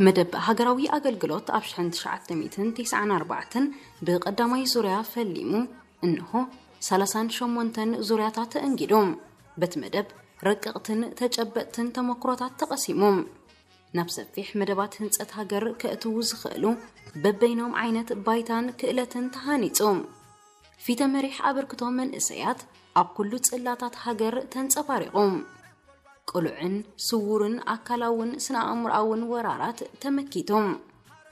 መደብ ሃገራዊ ኣገልግሎት ኣብ ሽሕን ትሽዓተ ሚእትን ተስዓን ኣርባዕተን ብቐዳማይ ዙርያ ፈሊሙ፣ እንሆ ሰላሳን ሸሞንተን ዙርያታት ተእንጊዱ። በቲ መደብ ረቀቕትን ተጨበጥትን ተመክሮታት ተቐሲሙ። ናብ ሰፊሕ መደባት ህንጸት ሃገር ከእትዉ ዝኽእሉ በበይኖም ዓይነት ባይታን ክእለትን ተሃኒጹ። ፊተ መሪሕ ኣበርክቶ መንእሰያት ኣብ ኩሉ ጽላታት ሃገር ተንጸባሪቑ። ቅሉዕን ስዉርን ኣካላውን ስነ-ኣእምሮኣውን ወራራት ተመኪቱ።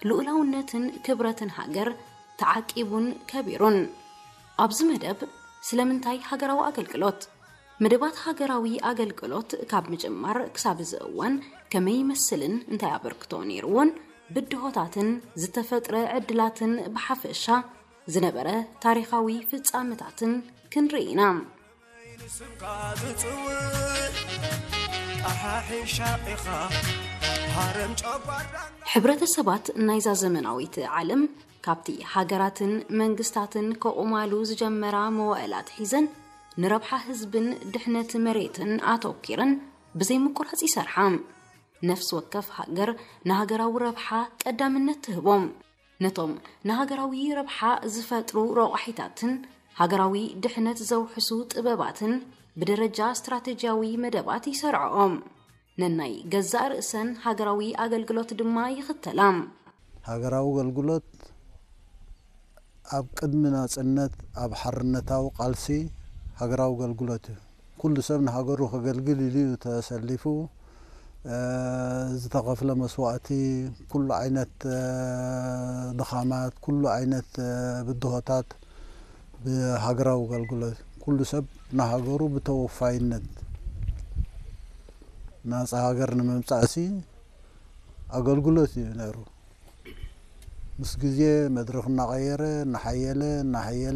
ልኡላውነትን ክብረትን ሃገር ተዓቂቡን ከቢሩን። ኣብዚ መደብ ስለምንታይ ሃገራዊ ኣገልግሎት? መደባት ሃገራዊ ኣገልግሎት ካብ ምጅማር ክሳብ እዚ እዋን ከመይ ይመስልን እንታይ ኣበርክቶ ነይርዎን ብድሆታትን ዝተፈጥረ ዕድላትን ብሓፈሻ ዝነበረ ታሪኻዊ ፍጻመታትን ክንርኢ ኢና። ንስምካ ዝጽውዕ ጣሓሒ ሻቒኻ ሃረም ጨጓራና። ሕብረተሰባት ናይዛ ዘመናዊት ዓለም ካብቲ ሃገራትን መንግስታትን ከቑማሉ ዝጀመራ መዋእላት ሒዘን ንረብሓ ህዝብን ድሕነት መሬትን ኣተኪረን ብዘይ ምቁራጽ ይሰርሓ። ነፍሲ ወከፍ ሃገር ንሃገራዊ ረብሓ ቀዳምነት ትህቦም። ነቶም ንሃገራዊ ረብሓ ዝፈጥሩ ረቋሒታትን ሃገራዊ ድሕነት ዘውሕሱ ጥበባትን ብደረጃ ስትራቴጂያዊ መደባት ይሰርዕኦም። ነናይ ገዛእ ርእሰን ሃገራዊ ኣገልግሎት ድማ ይኽተላ። ሃገራዊ ኣገልግሎት ኣብ ቅድሚ ናጽነት ኣብ ሓርነታዊ ቃልሲ ሃገራዊ ኣገልግሎት እዩ። ኩሉ ሰብ ንሃገሩ ከገልግል ኢሉ እዩ ተሰሊፉ። እ፣ ዝተኸፍለ መስዋእቲ፣ ኩሉ ዓይነት፣ እ፣ ድኻማት፣ ኩሉ ዓይነት፣ እ፣ ብድሆታት ብሃገራዊ ኣገልግሎት ኩሉ ሰብ ንሃገሩ ብተወፋይነት ናጻ ሃገር ንምምጻእሲ ኣገልግሎት እዩ ነይሩ። ምስ ግዜ መድረኽ እናቐየረ፣ እናሓየለ፣ እናሓየለ